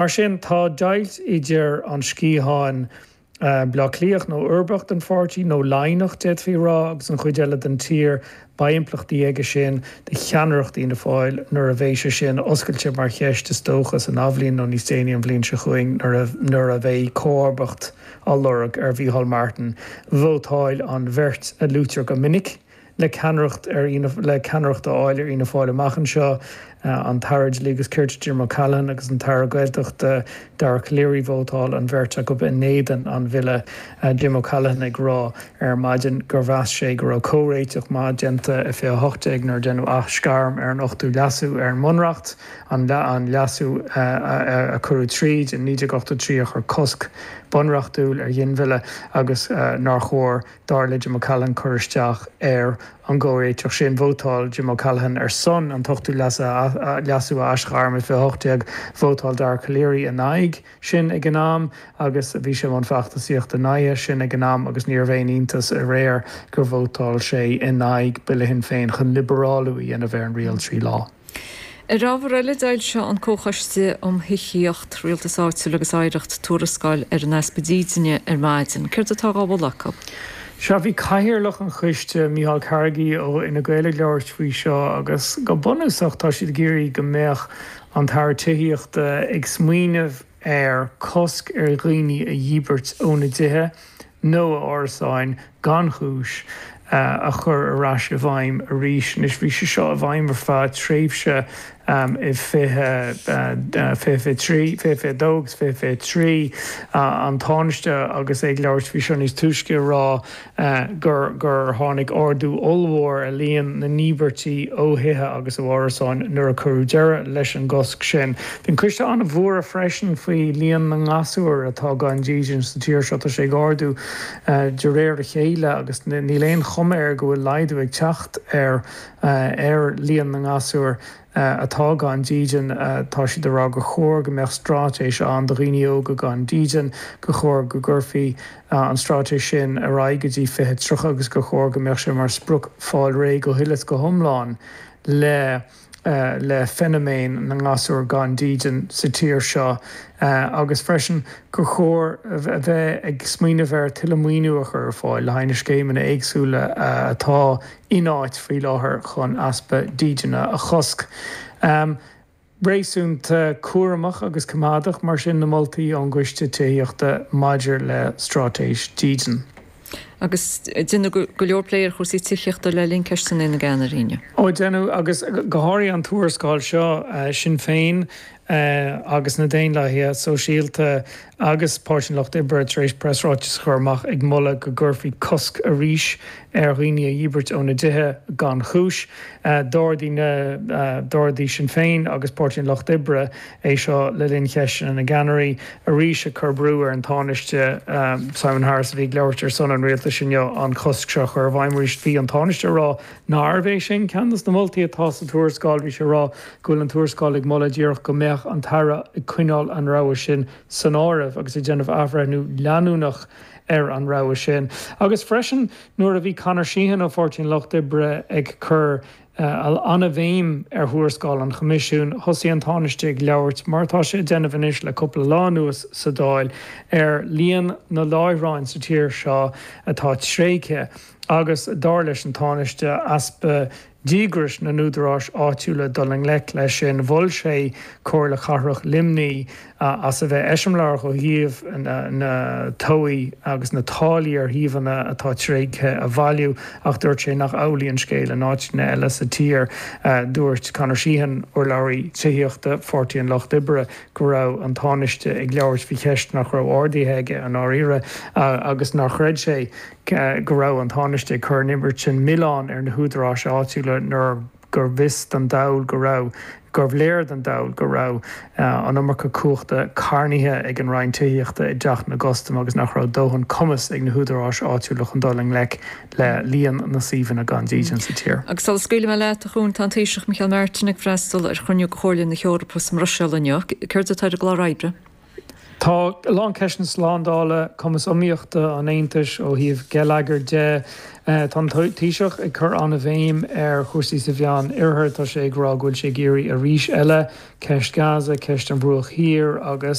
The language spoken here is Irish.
Mar sin, tá deighilt idir an sciathán Bleá Cliathach nó uirbeach den pháirtí, nó Laighneach, d'fhéadfaí a rá, agus an chuid eile den tír. Beidh impleachtaí aige sin do cheannaireacht Fhianna Fáil nuair a bheidh sé sin oscailte mar cheist, is dócha, san athbhliain nó níos déanaí an bhliain seo chugainn nuair a bheidh comharbacht á lorg ar Mhícheál Martin. Vótáil an bheirt a luaitear go minic le ceannaireacht ar le ceannaireacht a fháil ar Fhianna Fáil amach anseo, an tAire Dlí agus Cirt Jim O'Callaghan agus an tAire Gaeltachta Dara Calleary vótáil an bheirt acu in éadan an bhille, Jim O'Callaghan ag rá ar maidin gur mheas sé go raibh comhréiteach maith déanta i 2018 nuair a deineadh aisghairm ar an ochtú leasú ar an mBunreacht, an leasú a cuireadh tríd in 1983 a chuir cosc bunreachtúil ar ghinmhilleadh agus nár chóir Dar le Jim O'Callaghan cur isteach ar an gcomhréiteach sin. Vótáil Jim O'Callaghan ar son an t-ochtú leasú a aisghairm i 2018. Vótáil Dara Calleary in aghaidh sin ag an am agus bhí sé i mbun feachtasaíochta in aghaidh sin ag an am agus níorbh aon iontas aréir gur vótáil sé in aghaidh Bille Shinn Féin chun liobarálú a dhéanamh ar an riail 3 lá. Ar ábhar eile, d'fhoilsigh an Comhchoiste um Thithíocht, Rialtas Áitiúil agus Oidhreacht tuarascáil ar an easpa dídine ar maidin. Céard atá á mholadh acu? Sea, bhí cathaoirleach an choiste, Micheál Carrigy ó Fhine Gael ag labhairt faoi seo agus go bunúsach tá siad ag iarraidh go mbeadh an tAire Tithíochta ag smaoineamh ar cosc ar dhaoine a dhíbirt óna dtithe nó a árasáin gan chúis a chur ar ais i bhfeidhm arís. Anois bhí sé seo i bhfeidhm ar feadh tréimhse i 2023, 2022 agus 2023. An Tánaiste agus é ag labhairt faoi seo níos túisce ag rá gur gur tháinig ardú ollmhór ar líon na ndíbirtí ó thithe agus ó árasáin nuair a cuireadh deireadh leis an gcosc sin. Bhí an coiste an-bhuartha freisin faoi líon na ngasúr atá gan dídean sa tír seo. Tá sé ag ardú de réir a chéile agus níl aon chuma air go bhfuil laghdú ag teacht ar ar líon na ngasúr. atá gan dídean. Tá siad ag rá gur chóir go mbeadh straitéis ann do dhaoine óga gan dídean, gur chóir go gcuirfí an straitéis sin ar aghaidh go dtí 2030 agus gur chóir go mbeadh sé mar sprioc fáil réidh go huile is go hiomlán le le feiniméan na ngasúr gan dídean sa tír seo agus freisin gur chóir a bheith ag smaoineamh ar tuilleadh maoiniú a chur ar fáil le haghaidh na scéimeanna éagsúla atá in áit faoi láthair chun easpa dídine a chosc. Réasúnta cúramach agus coimeádach mar sin na moltaí ón gCoiste Tithíochta maidir le Straitéis Dídine. Agus deineadh go leor plé ar chúrsaí tithíochta le linn Ceisteanna na gCeannairí inniu. Ó deineadh, agus go háirithe an tuarascáil seo, Sinn Féin agus na Daonlathaithe Sóisialta agus Páirtí an Lucht Oibre tar éis preasráiteas a chur amach ag moladh go gcuirfí cosc arís ar dhaoine a dhíbirt óna dtithe gan chúis. D'ardaigh na d'ardaigh Sinn Féin agus Páirtí an Lucht Oibre é seo le linn cheisteanna na gceannairí, arís ag cur brú ar an Tánaiste Simon Harris a bhí ag labhairt ar son an rialtais inniu an cosc seo a chur i bhfeidhm arís. Bhí an Tánaiste ag rá nárbh é sin ceann de na moltaí atá sa tuarascáil. Bhí sé ag rá go bhfuil an tuarascáil ag moladh díreach go mbeadh an tAire ag coinneáil an rogha sin san áireamh agus ag déanamh athbhreithniú leanúnach ar an rogha sin. Agus freisin nuair a bhí Conor Sheehan ó Pháirtí an Lucht Oibre ag cur an-bhéim ar thuarascáil an Choimisiúin, thosaigh an Tánaiste ag labhairt, mar atá sé ag déanamh anois le cúpla lá anuas sa Dáil, ar líon na láithreáin sa tír seo atá tréigthe agus, dar leis an Tánaiste, easpa díograis na n-údaráis áitiúla dul i ngleic leis sin. Mhol sé Comhairle Cathrach Luimnigh as a bheith eiseamláireach ó thaobh na tobhaigh agus na táillí ar shuíomhanna atá tréigthe a bhailiú ach dúirt sé nach amhlaidh an scéal in áiteanna eile sa tír. Dúirt Conor Sheehan, urlabhraí tithíochta Pháirtí an Lucht Oibre, go raibh an Tánaiste ag labhairt faoi cheist nach raibh ardaithe aige i ndáiríre agus nár chreid sé go raibh an Tánaiste ag cur an oiread sin milleáin ar na húdaráis áitiúla nuair gurbh fhios don dall go raibh, gurbh léir don dall go raibh an iomarca cumhachta carnaithe ag an Roinn Tithíochta i dTeach na gCustam agus nach raibh dóthain cumas ag na húdaráis áitiúla chun dul i ngleic le líon na suíomhanna gan dídean sa tír. Agus sula scaoilfidh mé leat, a Chuain, tá an Taoiseach Micheál Martin ag freastal ar chruinniú de Chomhairle na hEorpa sa mBruiséil inniu. Céard atá ar an gclár oibre? Tá a lán ceisteanna slándála, cumas iomaíochta an Aontais ó thaobh geilleagair de. Tá an Taoiseach ag cur an-bhéim ar chúrsaí sa Mheán Oirthear. Tá sé ag rá go bhfuil sé ag iarraidh arís eile ceist Gaza, ceist an Bhruach Thiar agus.